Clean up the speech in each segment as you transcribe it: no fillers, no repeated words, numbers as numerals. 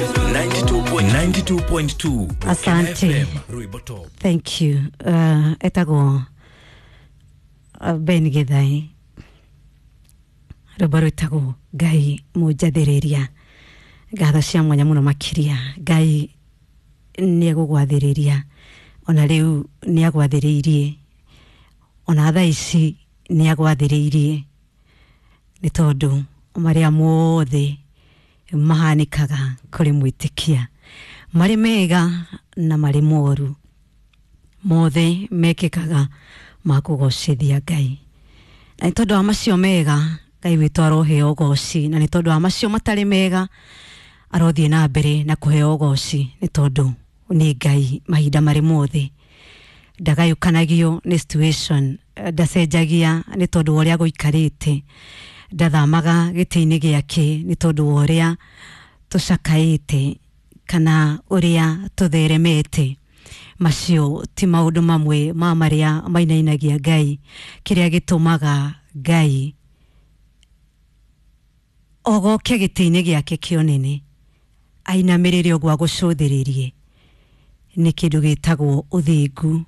92.2 Asante. FM, Ruibo Top. Thank you. Etagwo Ben Githai, rwĩmbo rwĩtagwo Ngai mũnjathĩrĩria. Ngatho cia mwanya mũno makĩria. Ngai nĩ egũgwathĩrĩria, ona rĩu nĩ agwathĩrĩirie, ona thaa ici nĩ agwathĩrĩirie, nĩ tondũ marĩa mothe mahanĩkaga kũrĩ mwĩtĩkia, marĩ mega na marĩ moru, mothe mekĩkaga ma kũgocithia Ngai. Na nĩ tondũ wa macio mega, Ngai witũ aroheo ũgoci, na nĩ tondũ wa macio matarĩ mega, arothiĩ na mbere na kũheo ũgoci, nĩ tondũ nĩ Ngai mahinda marĩ mothe. Ndagayũkanagio nĩ situation, ndacenjagia nĩ tondũ wa ũrĩa gũikarĩte, ndathamaga gĩtĩ-inĩ gĩake nĩ tondũ wa ũrĩa tũcakaĩte kana ũrĩa tũtheremete. Macio ti maũndũ mamwe ma marĩa mainainagia Ngai. Kĩrĩa gĩtũmaga Ngai ogoke gĩtĩ-inĩ gĩake kĩa ũnene, ainamĩrĩre ũguo agũcũthĩrĩrie, nĩ kĩndũ gĩtagwo ũthingu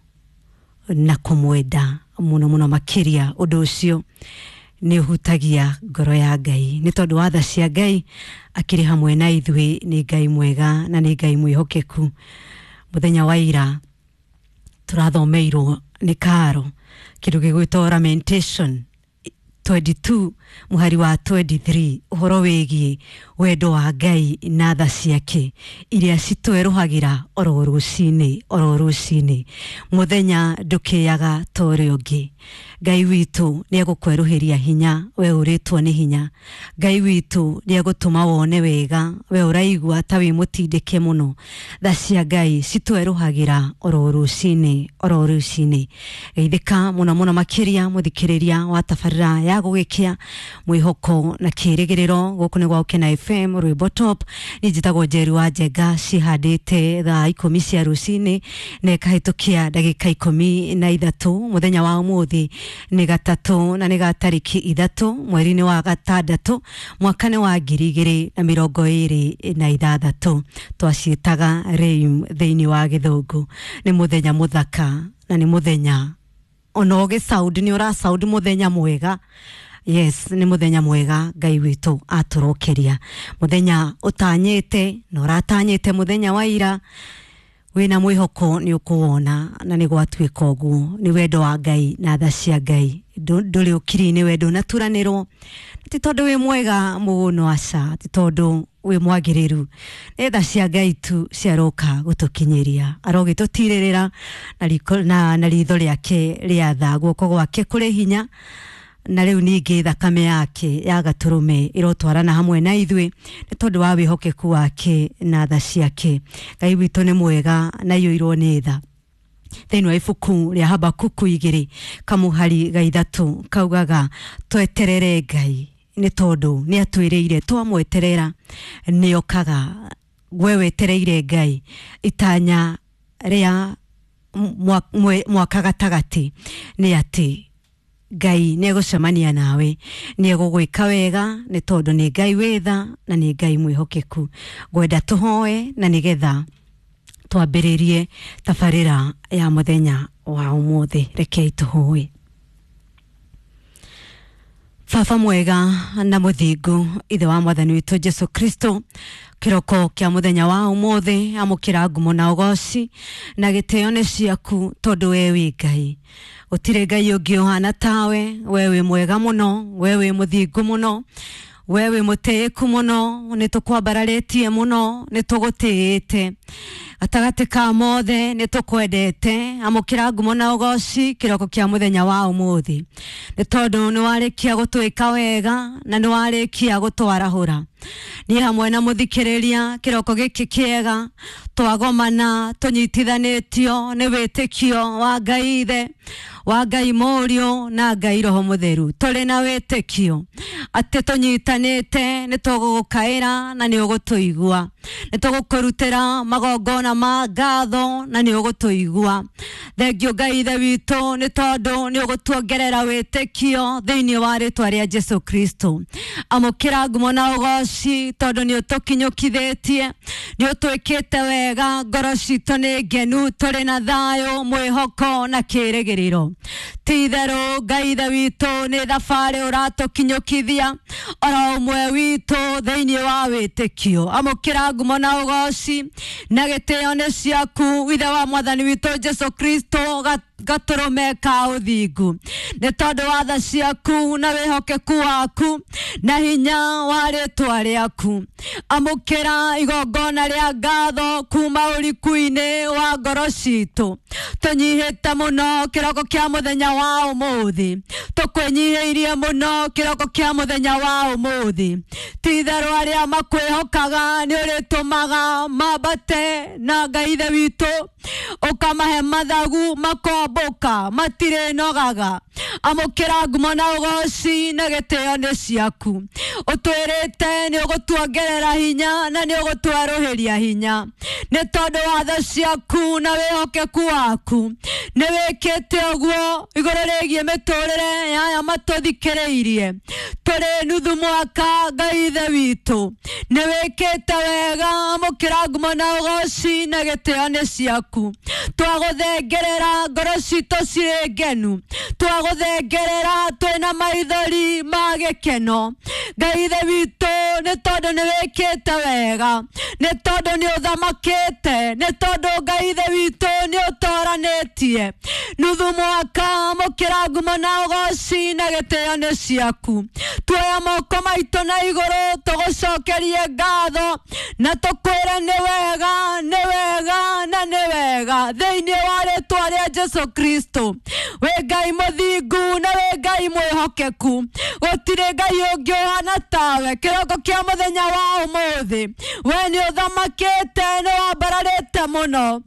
na kũmwenda mũno mũno makĩria. Ũndũ ũcio nĩ ũhutagia ngoro ya Ngai, nĩ tondũ wa tha cia Ngai akĩrĩ hamwe na ithuĩ. Nĩ Ngai mwega na nĩ Ngai mwĩhokeku. Mũthenya wa ira tũrathomeirwo nĩ Karo kĩndũ gĩgwĩtwo Lamentation 22 mũhari wa 23, ũhoro wĩgiĩ wendo wa Ngai na tha ciake iria citwerũhagĩra oro rũcinĩ oro rũcinĩ. Mũthenya ndũkĩaga ta ũrĩa ũngĩ. Ngai witũ nĩ egũkwerũhĩria hinya we ũrĩtwo nĩ hinya. Ngai witũ nĩ egũtũma wone wega we ũraigua ta wĩ mũtindĩke mũno. Tha cia Ngai citwerũhagĩra oro rũcinĩ oro rũcinĩ. Geithĩka mũno mũno makĩria mũthikĩrĩria wa tabarĩra ya gũgĩkĩa mwĩhoko na kĩrĩgĩrĩro. Gũkũ nĩ gwa Ũkena FM Rwĩmbo Top. Niĩ njĩtagwo Njeri wa Njenga, cihandĩte thaa 10 cia rũcinĩ na ĩkahĩtũkia ndagĩka 13. Mũthenya wa ũmũthĩ nĩ gatatũ na nĩ ga tarĩki 3 mweri-inĩ wa gatandatũ mwaka nĩ wa 2026. Twaciĩtaga Reim thĩinĩ wa gĩthũngũ. Nĩ mũthenya mũthaka na nĩ mũthenya ona ũgĩ sound nĩ ũra sound mũthenya mwega. Yes, nĩ mũthenya mwega Ngai witũ atũrokeria, mũthenya ũtanyĩte na ũratanyĩte mũthenya wa ira wĩna mwĩhoko nĩ ũkũwona, na nĩ gwatuĩka ũguo. Nĩ wendo wa Ngai na tha cia Ngai. Ndũrĩ ũkiri-inĩ, wendo ũnaturanĩrwo, ti tondũ wĩ mwega mũno, aca, ti tondũ wĩ mwagĩrĩru, nĩ tha cia Ngai tu ciaroka gũtũkinyĩria. Arogĩtũtirĩrĩra na riko, na ritho rĩake rĩa tha, guoko gwake kũrĩ hinya, na rĩu ningĩ thakame yake ya gatũrũme ĩrotwarana hamwe na ithuĩ nĩ tondũ wa wĩhokeku wake na tha ciake. Ngai witũ nĩ mwega na aiyũirwo nĩ tha. Thĩinĩ wa ibuku rĩa Habakuku 2 kamũhari ga 3 kaugaga tweterere Ngai, nĩ tondũ nĩ atwĩrĩire twamweterera nĩ okaga. We wetereire Ngai itanya rĩa mwaka gatagatĩ nĩ atĩ Ngai nĩ egũcemania nawe, nĩ egũgwĩka wega, nĩ tondũ nĩ Ngai wĩ tha na nĩ Ngai mwĩhokeku. Ngwenda tũhoe na nĩgetha twambĩrĩrie tabarĩra ya mũthenya wa ũmũthĩ. Rekei tũhoe. Baba mwega na mũthingu, ithe wa mwathani witũ Jesu Kristo, kĩroko kĩa mũthenya wa ũmũthĩ, amũkĩra ngumo na ũgoci na gĩtĩo nĩ ciaku, tondũ we wĩ Ngai. Gũtirĩ Ngai ũngĩ ũhana tawe. We wĩ mwega mũno, we wĩ mũthingu mũno, we wĩ mũtĩĩku mũno. Nĩ tũkwambararĩtie mũno, nĩ tũgũtĩĩte gatagatĩ ka mothe, nĩ tũkwendete. Amũkĩra ngumo na ũgoci kĩroko kĩa mũthenya wa ũmũthĩ, nĩ tondũ nĩ warĩkia gũtwĩka wega na nĩ warĩkia gũtwarahũra. Niĩ hamwe na mũthikĩrĩria kĩroko gĩkĩ kĩega twagomana tũnyitithanĩtio nĩ wĩtĩkio wa Ngai Ithe, wa Ngai Mũriũ na Ngai Roho Mũtheru. Tũrĩ na wĩtĩkio atĩ tũnyitanĩte nĩ tũgũgũkaĩra na nĩ ũgũtũigua, nĩ tũgũkũrutĩra magongona magongona ma ngatho na nĩ ũgũtũigua. Thengio Ngai ithe witũ nĩ tondũ nĩ ũgũtuongerera wĩtĩkio thĩinĩ wa rĩtwa rĩa Jesu Kristo. Amũkĩra ngumo na ũgoci tondũ nĩ ũtũkinyũkithĩtie, nĩ ũtwĩkĩte wega, ngoro citũ nĩ ngenu, tũrĩ na thayũ, mwĩhoko na kĩĩrĩgĩrĩro. Ti itherũ Ngai ithe witũ nĩ thabarĩ ũratũkinyũkithia oro ũmwe witũ thĩinĩ wa wĩtĩkio. Amũkĩra ngumo na ũgoci na gĩtĩo nĩ ciaku ithe wa mwathani witũ Jesu Kristo, gatũrũme ka ũthingu, nĩ tondũ wa tha ciaku na wĩhokeku waku na hinya wa rĩtwa rĩaku. Amũkĩra igongona rĩa ngatho kuma ũriku-inĩ wa ngoro citũ. Tũnyihĩte mũno kĩroko kĩa mũthenya wa ũmũthĩ, tũkwĩnyihĩirie mũno kĩroko kĩa mũthenya wa ũmũthĩ. Ti itherũ arĩa makwĩhokaga nĩ ũrĩtũmaga mambate na Ngai ithe witũ, ũkamahe mathagu makombũka matirĩnogaga. Amũkĩra ngumo na ũgoci na gĩtĩo nĩ ciaku. Ũtwĩrĩte nĩ ũgũtuongerera hinya na nĩ ũgũtwerũhĩria hinya, nĩ tondũ wa tha ciaku na wĩhokeku waku. Nĩ wĩkĩte ũguo igũrũ rĩgiĩ mĩtũrĩre ya aya matũthikĩrĩirie. Tũrĩ nuthu mwaka Ngai ithe witũ, nĩ wĩkĩte wega. Amũkĩra ngumo na ũgoci na gĩtĩo nĩ ciaku. Twagũthengerera ngoro citũ cirĩ ngenu, twagũthengerera twĩna maithori ma gĩkeno. Ngai ithe witũ, nĩ tondũ nĩ wĩkĩte wega, nĩ tondũ nĩ ũthamakĩte, nĩ tondũ Ngai ithe witũ nĩ ũtoranĩtie nuthu mwaka. Amũkĩra ngumo na ũgoci na gĩtĩo nĩ ciaku. Tuoya moko maitũ na igũrũ tũgũcokerie ngatho na tũkwĩre nĩ wega, nĩ wega na nĩ wega thĩinĩ wa rĩtwa rĩa Jesu Kristo. Wĩ Ngai mũthingu na wĩ Ngai mwĩhokeku, gũtirĩ Ngai ũngĩ ũhana tawe. Kĩroko kĩa mũthenya wa ũmũthĩ, we nĩ ũthamakĩte, nĩ wambararĩte mũno,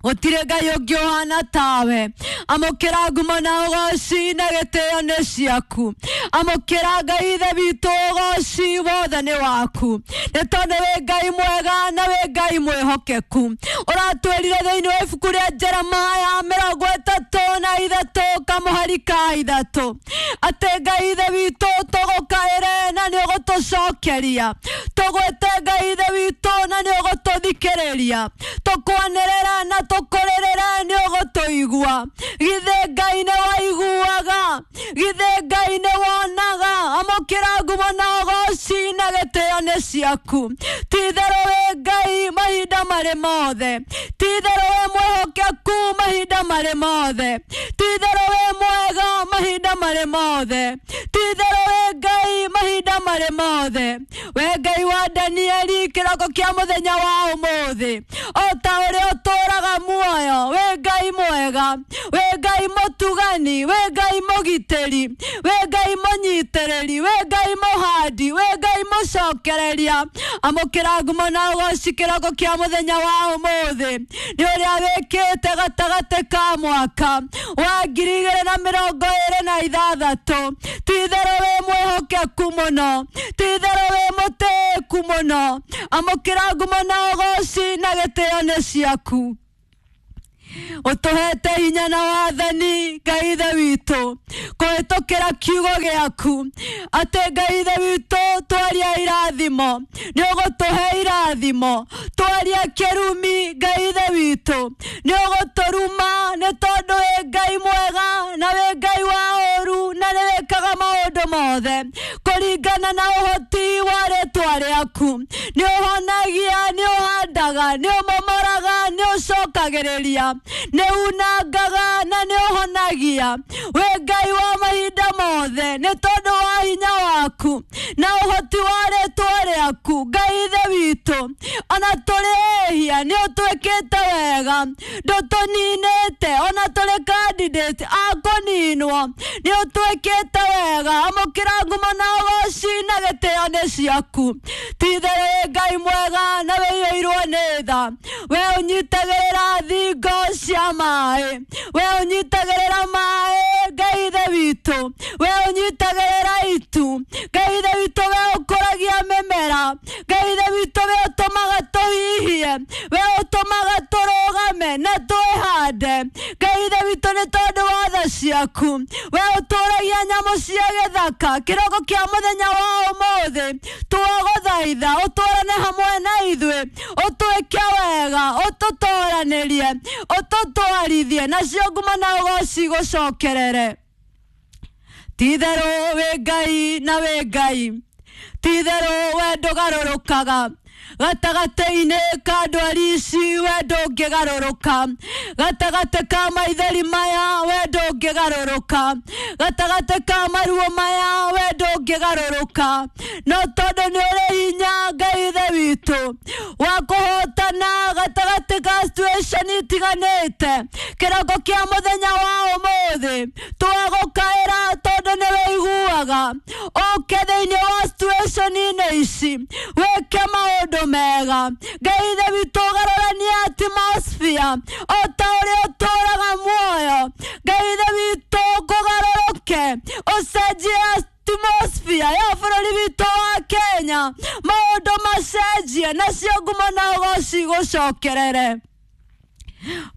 gũtirĩ Ngai ũngĩ ũhana tawe. Amũkĩra ngumo na ũgoci na gĩtĩo nĩ ciaku. Amũkĩra Ngai ithe witũ, ũgoci wothe nĩ waku, nĩ tondũ wĩ Ngai mwega na wĩ Ngai mwĩhokeku. Ũratwĩrire thĩinĩ wa ibuku rĩa Jeremaya 33 kamũhari ka 3 atĩ Ngai ithe witũ tũgũkaĩre na nĩ ũgũtũcokeria, tũgwĩte Ngai ithe witũ na nĩ ũgũtũthikĩrĩria, tũkwanĩrĩra na tũkũrĩrĩra nĩ ũgũtũigua. Githĩ Ngai nĩ waiguaga? Githĩ Ngai nĩ wonaga? Amũkĩra ngumo na ũgoci na gĩtĩo nĩ ciaku. Ti itherũ wĩ Ngai mahinda marĩ mothe, ti itherũ wĩ mwĩhokeku mahinda marĩ mothe, ti itherũ wĩ mwega mahinda marĩ mothe, ti itherũ wĩ Ngai mahinda marĩ mothe. We Ngai wa Danieli, kĩroko kĩa mũthenya wa ũmũthĩ, o ta ũrĩa ũtũũraga muoyo, wĩ Ngai mwega, wĩ Ngai mũtugani, wĩ Ngai mũgitĩri, wĩ Ngai mũnyitĩrĩri, wĩ Ngai mũhandi, wĩ Ngai mũcokereria. Amũkĩra ngumo na ũgoci kĩroko kĩa mũthenya wa ũmũthĩ, nĩ ũrĩa wĩkĩte gatagatĩ ka mwaka wa 2026. Ti itherũ wĩ mwĩhokeku mũno, ti itherũ wĩ mũtĩĩku mũno. Amũkĩra ngumo na ũgoci na gĩtĩo nĩ ciaku. Ũtũhete hinya na wathani Ngai ithe witũ kũhĩtũkĩra kiugo gĩaku, atĩ Ngai ithe witũ twaria irathimo nĩ ũgũtũhe irathimo, twaria kĩrumi Ngai ithe witũ nĩ ũgũtũruma, nĩ tondũ wĩ Ngai mwega na wĩ Ngai wa ũũru na nĩ wĩkaga maũndũ mothe kũringana na ũhoti wa rĩtwa rĩaku. Nĩ ũhonagia, nĩ ũhandaga, nĩ ũmomoraga, nĩ ũcokagĩrĩria, nĩ unangaga na nĩ ũhonagia. Wĩ Ngai wa mahinda mothe, nĩ tondũ wa hinya waku na ũhoti wa rĩtwa rĩaku. Ngai ithe witũ, ona tũrĩ ehia nĩ ũtwĩkĩte wega, ndũtũninĩte, ona tũrĩ candidate a kũninwo, nĩ ũtwĩkĩte wega. Amũkĩra ngumo na ũgoci na gĩtĩo nĩ ciaku. Ti itherũ wĩ Ngai mwega na wĩiyũirwo nĩ tha, we ũnyitagĩrĩra thingo cia maĩ, we ũnyitagĩrĩra maĩ Ngai ithe witũ, we ũnyitagĩrĩra itu Ngai ithe witũ, we ũkũragia mĩmera Ngai ithe witũ, we ũtũmaga tũhihie, we ũtũmaga Ngai Ithe witũ nĩ tondũ wa tha ciaku. We ũtũragia nyamũ cia gĩthaka kĩroko kĩa mũthenya wa ũmũthĩ, twagũthaitha ũtũrane hamwe na ithuĩ, ũtwĩke wega, ũtũtoranĩrie, ũtũtwarithie, nacio ngumo na ũgoci gũcokerere. Ti-itherũ wĩ Ngai na wĩ Ngai, ti-itherũ we ndũgarũrũkaga. Gatagatĩ-inĩ ka ndwari ici we ndũngĩgarũrũka, gatagatĩ ka maithori maya we ndũngĩgarũrũka, gatagatĩ ka maruo maya we ndũngĩgarũrũka. No tondũ nĩ ũrĩ hinya Ngai Ithe witũ wa kũhotana gatagatĩ ka situation itiganĩte, kĩroko kĩa mũthenya wa ũmũthĩ twagũkaĩra tondũ nĩ wĩiguaga. Ũke thĩinĩ wa situation-inĩ ici wĩke maũndũ mega. Ngai Ithe witũ ũgarũranie atmosphere o ta ũrĩa ũtũraga muoyo. Ngai Ithe witũ kũgarũrũke, ũcenjie atmosphere ya bũrũri witũ wa Kenya, maũndũ macenjie, nacio ngumo na ũgoci gũcokerere.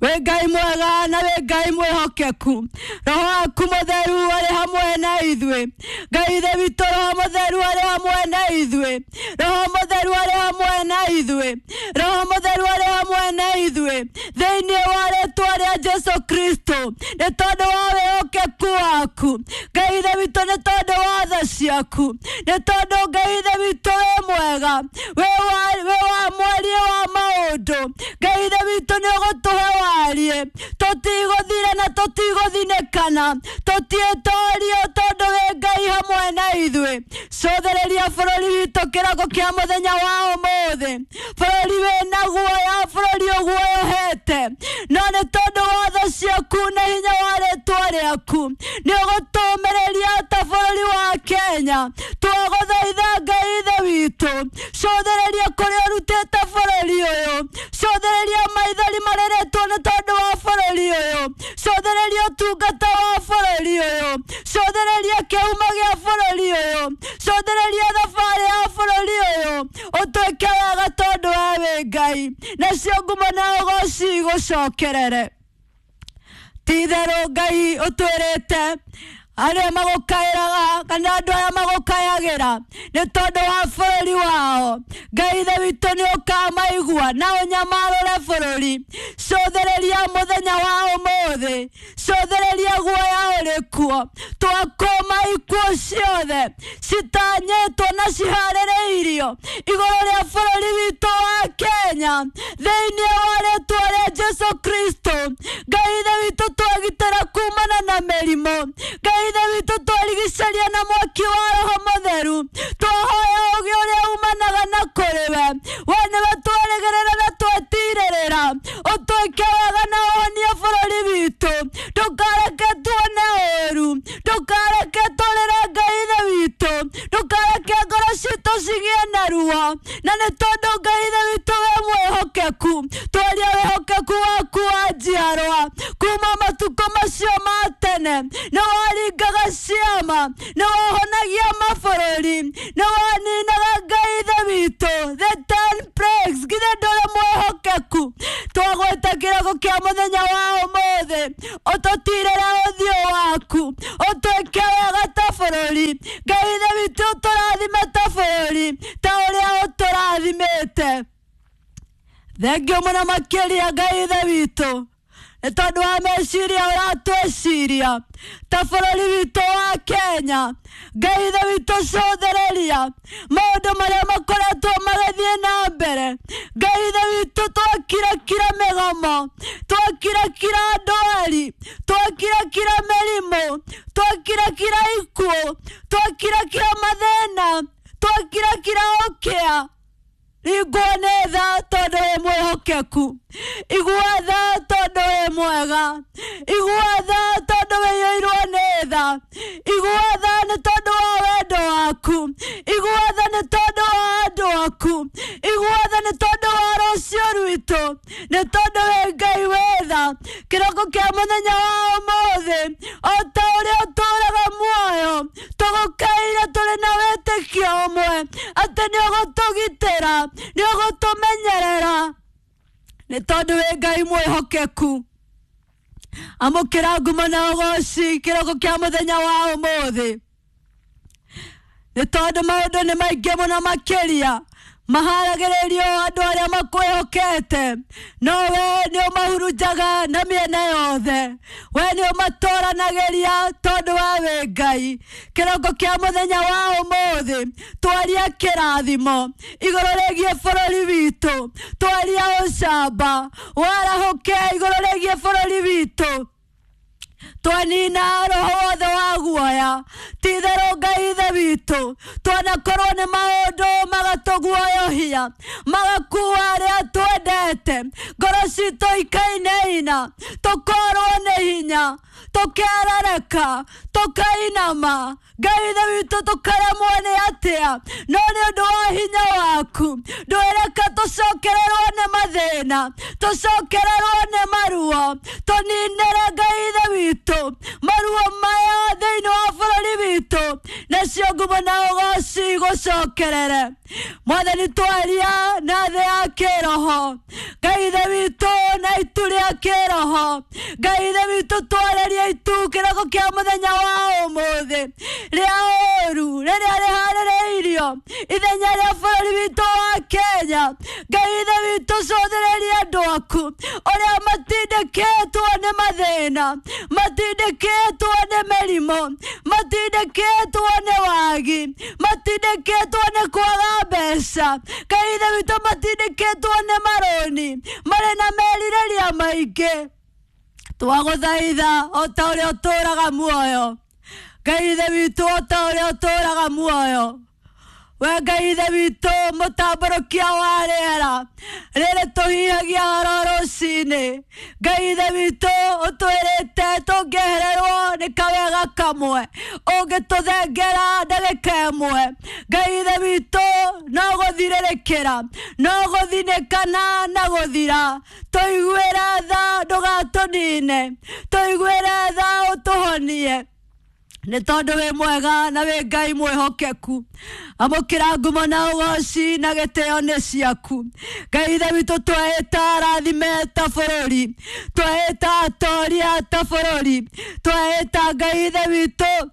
Wĩ Ngai mwega na wĩ Ngai mwĩhokeku, Roho waku mũtheru arĩ hamwe na ithuĩ. Ngai Ithe witũ, Roho mũtheru arĩ hamwe na ithuĩ, Roho mũtheru arĩ hamwe na ithuĩ, Roho mũtheru arĩ hamwe na ithuĩ, thĩinĩ wa rĩtwa rĩa Jesu Kristo. Nĩ tondũ wa wĩhokeku waku Ngai Ithe witũ, nĩ tondũ wa tha ciaku, nĩ tondũ Ngai Ithe witũ wĩ mwega, wĩ wa mwaria wa maũndũ. Ngai Ithe witũ nĩ ũgũtũhe warie, tũtigũthira na tũtigũthinĩkana, tũtiĩtorio tondũ wĩ Ngai hamwe na ithuĩ. Cũthĩrĩria bũrũri witũ kĩroko kĩa mũthenya wa ũmũthĩ, bũrũri wĩna guoya, bũrũri ũguoyohete, no nĩ tondũ wa tha ciaku na hinya wa rĩtwa rĩaku nĩ ũgũtũmĩrĩria ta bũrũri wa Kenya. Twagũthaitha Ngai Ithe witũ, cũthĩrĩria kũrĩa ũrutĩte bũrũri ũyũ, cũthĩrĩria maithori marĩrĩtwo nĩ tondũ wa bũrũri ũyũ, cũthĩrĩria ũtungata wa bũrũri ũyũ, cũthĩrĩria kĩhumo gĩa bũrũri ũyũ, cũthĩrĩria thabarĩ ya bũrũri ũyũ, ũtwĩke wega tondũ we wĩ Ngai, nacio ngumo na ũgoci gũcokerere. Ti-itherũ Ngai ũtwĩrĩte arĩa magũkaĩraga kana andũ arĩa magũkayagĩra nĩ tondũ wa bũrũri wao, Ngai Ithe witũ nĩ ũkamaigua na ũnyamarũre bũrũri. Cũthĩrĩria mũthenya wa ũmũthĩ, cũthĩrĩria guoya ũrĩ kuo, twakũma ikuũ ciothe citanyĩtwo na ciharĩrĩirio igũrũ rĩa bũrũri witũ wa Kenya, thĩinĩ wa rĩtwa rĩa Jesu Kristo. Ngai Ithe witũ twagitĩra kumana na mĩrimũ, Ngai Ithe witũ twarigicĩria na mwaki wa Roho Mũtheru, twahoya ũgĩ ũrĩa umanaga na kũrĩ we, we nĩwe twerĩgĩrĩra na twetirĩrĩra, ũtwĩke wega na ũhonie bũrũri witũ, ndũkareke tuone ũũru, ndũkareke tũrĩre Ngai Ithe witũ, ndũkareke ngoro citũ cigĩe na ruo, na nĩ tondũ Ngai Ithe witũ wĩ mwĩhokeku, twaria wĩhokeku waku wa njiarwa kuma matukũ macio ma tene, nĩ waringaga ciama, nĩ wahonagia mabũrũri, nĩ waninaga Ngai Ithe witũ the 10 plagues. Githĩ ndũrĩ mwĩhokeku? Twagwĩta kĩroko kĩa mũthenya wa ũmũthĩ, ũtũtirĩre ũthiũ waku, ũtwĩke wega ta bũrũri. Ngai Ithe witũ ũtũrathime ta bũrũri ta ũrĩa ũtũrathimĩte. Thengio mũno makĩria Ngai Ithe witũ nĩ tondũ wa meciria ũratwĩciria ta bũrũri witũ wa Kenya. Ngai Ithe witũ cũthĩrĩria maũndũ marĩa makoretwo magĩthiĩ na mbere. Ngai Ithe witũ twakirakira mĩgomo, twakirakira ndwari, twakirakira mĩrimũ, twakirakira ikuũ, twakirakira mathĩna, twakirakira ũkĩa. Igua nĩ tha tondũ wĩ mwĩhokeku, igua tha tondũ wĩ mwega, igua tha tondũ wĩiyũirwo nĩ tha, igua tha nĩ tondũ wa wendo waku, igua tha nĩ tondũ wa andũ aku, igua tha nĩ tondũ wa rũciũ rwitũ, nĩ tondũ wĩ Ngai wĩ tha. Kĩroko kĩa mũthenya wa ũmũthĩ, o ta ũrĩa ũtũraga muoyo, tũgũkaĩra tũrĩ na wĩtĩkio ũmwe atĩ nĩ ũgũtũgitĩra, nĩ ũgũtũmenyerera, nĩ tondũ wĩ Ngai mwĩhokeku. Amũkĩra ngumo na ũgoci kĩroko kĩa mũthenya wa ũmũthĩ, nĩ tondũ maũndũ nĩ maingĩ mũno makĩria maharagĩrĩrio andũ arĩa makwĩhokete, no we nĩ ũmahurunjaga na mĩena yothe. We nĩ ũmatũranagĩria tondũ we wĩ Ngai. Kĩroko kĩa mũthenya wa ũmũthĩ twaria kĩrathimo igũrũ rĩgiĩ bũrũri witũ, twaria ũcamba warahũke igũrũ rĩgiĩ bũrũri witũ, twanina roho wothe wa guoya. Ti-itherũ Ngai Ithe witũ, twanakorwo nĩ maũndũ magatũguoyohia, magakua arĩa twendete, ngoro citũ ikainaina, tũkorwo nĩ hinya, tũkerereka, tũkainama. Ngai Ithe witũ, tũkaremwo nĩ atĩa? No nĩ ũndũ wa hinya waku ndwĩreka tũcokererwo nĩ mathĩna, tũcokererwo nĩ maruo. Tũninĩre Ngai Ithe witũ maruo maya thĩinĩ wa bũrũri witũ, nacio ngumo na ũgoci gũcokerere. Mwathani, twaria na thĩ ya kĩroho, Ngai Ithe witũ, na itu rĩa kĩroho. Ngai Ithe witũ, twarĩrie itu kĩroko kĩa mũthenya wa ũmũthĩ rĩa ũru rĩrĩa rĩharĩrĩirio ithenya rĩa bũrũri witũ wa Kenya. Ngai Ithe witũ, cũthĩrĩria andũ aku ũrĩa matindĩkĩtwo nĩ mathĩna, matindĩkĩtwo nĩ mĩrimũ, matindĩkĩtwo nĩ wagi, matindĩkĩtwo nĩ kwaga mbeca. Ngai Ithe witũ, matindĩkĩtwo nĩ marũni, marĩ na merirĩria maingĩ. Twagũthaitha o ta ũrĩa ũtũũraga muoyo, Ngai Ithe witũ, o ta ũrĩa ũtũũraga muoyo, we Ngai Ithe witũ, mũtambũrũkia wa rĩera rĩrĩ tũhihagia oro rũcinĩ. Ngai Ithe witũ, ũtwĩrĩte tũngĩehererwo nĩ kawega kamwe, ũngĩtũthengera ndagĩka ĩmwe, Ngai Ithe witũ, no gũthirĩrĩkĩra, no gũthinĩkana na gũthira. Tũiguĩre tha, ndũgatũnine, tũiguĩre tha, ũtũhonie, nĩ tondũ wĩ mwega na wĩ Ngai mwĩhokeku. Amũkĩra ngumo na ũgoci na gĩtĩo nĩ ciaku. Ngai Ithe witũ, tweĩta arathime ta bũrũri, tweĩta atoria ta bũrũri, tweĩta Ngai Ithe witũ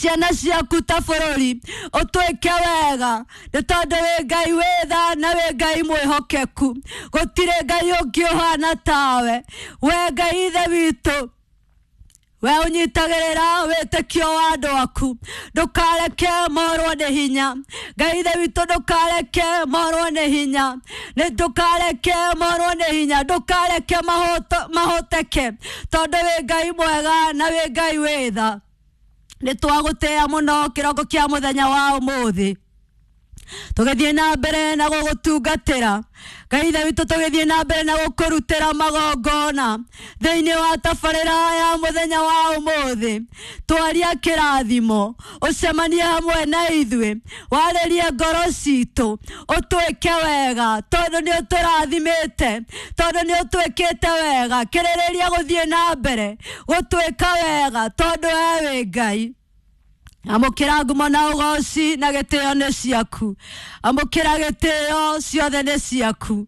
ciana ciaku ta bũrũri, ũtwĩke wega, nĩ tondũ wĩ Ngai wĩ tha na wĩ Ngai mwĩhokeku. Gũtirĩ Ngai ũngĩ ũhana tawe, we Ngai Ithe witũ. We ũnyitagĩrĩra wĩtĩkio wa andũ aku, ndũkareke morwo nĩ hinya. Ngai Ithe witũ, ndũkareke morwo nĩ hinya, nĩ ndũkareke morwo nĩ hinya, ndũkareke mahoteke, tondũ wĩ Ngai mwega na wĩ Ngai wĩ tha. Nĩ twagũtĩĩa mũno kĩroko kĩa mũthenya wa ũmũthĩ, tũgĩthiĩ na mbere na gũgũtungatĩra, Ngai Ithe witũ, tũgĩthiĩ na mbere na gũkũrutĩra magongona thĩinĩ wa tabarĩra ya mũthenya wa ũmũthĩ. Twaria kĩrathimo, ũcemanie hamwe na ithuĩ, warĩrie ngoro citũ, ũtwĩke wega, tondũ nĩ ũtũrathimĩte, tondũ nĩ ũtwĩkĩte wega. Kĩrĩrĩria gũthiĩ na mbere gũtwĩka wega, tondũ we wĩ Ngai. Amũkĩra ngumo na ũgoci na gĩtĩo nĩ ciaku. Amũkĩra gĩtĩo ciothe nĩ ciaku.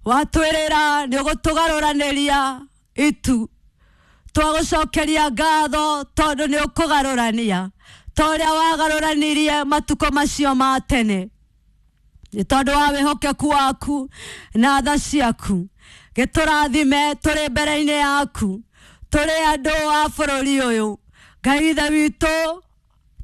Watwĩrĩra nĩ ũgũtũgarũranĩria itu, twagũcokeria ngatho tondũ nĩ ũkũgarũrania ta ũrĩa wagarũranirie matukũ macio ma tene, nĩ tondũ wa wĩhokeku waku na tha ciaku. Gĩtũrathime tũrĩ mbere-inĩ yaku, tũrĩ andũ a bũrũri ũyũ. Ngai Ithe witũ,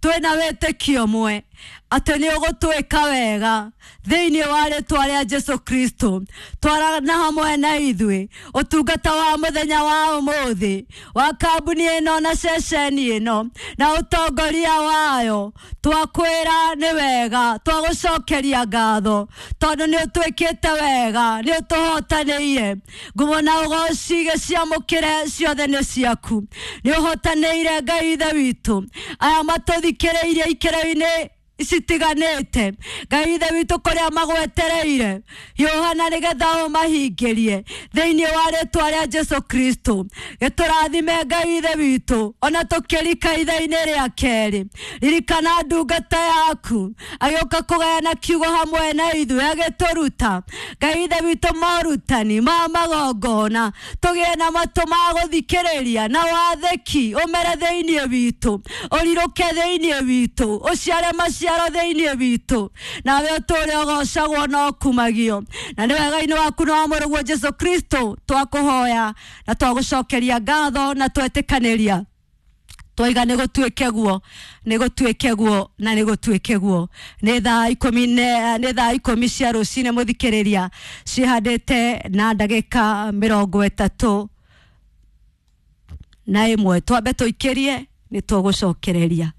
twĩna wĩtĩkio mwe atĩ nĩ ũgũtwĩka wega thĩinĩ wa rĩtwa rĩa Jesu Kristo. Twarana hamwe na ithuĩ ũtungata wa mũthenya wa ũmũthĩ wa kambuni ĩno na ceceni ĩno na ũtongoria wayo. Twakwĩra nĩ wega, twagũcokeria ngatho tondũ nĩ ũtwĩkĩte wega, nĩ ũtũhotanĩire. Ngumo na ũgoci gĩciamũkĩre ciothe nĩ ciaku. Nĩ ũhotanĩire, Ngai Ithe witũ, aya matũthikĩrĩirie ikĩro-inĩ. Citiganĩte Ngai ithe witũ kũrĩa magwetereire hiũhana nĩgetha ũmahingĩrie thĩinĩ wa rĩtwa rĩa Jesu Kristo. Gĩtũrathime Ngai ithe witũ ona tũkĩrika itha-inĩ rĩa kerĩ. Ririkana ndungata yaku agĩũka kũgayana kiugo hamwe na ithuĩ, agĩtũruta Ngai ithe witũ morutani ma magongona, tũgĩe na matũ ma gũthikĩrĩria na wathĩki ũmere thĩinĩ witũ, ũrirũke thĩinĩ witũ, ũciare maciaro thĩinĩ witũ, nawe ũtũũre ũgocagwo na ũkumagio. Na nĩ wega-inĩ waku na wa mũrũguo Jesu Kristo twakũhoya na twagũcokeria ngatho na twetĩkanĩria twaiga nä gå tuä guo, nä gå tuä guo na nä gå tuä guo. Nä thaa ikå nä thaa 10 cia rå cinä må thikä rä ria cihandä te na ndagä ka 31, twambe tå ikä rie nä tågå cokereria.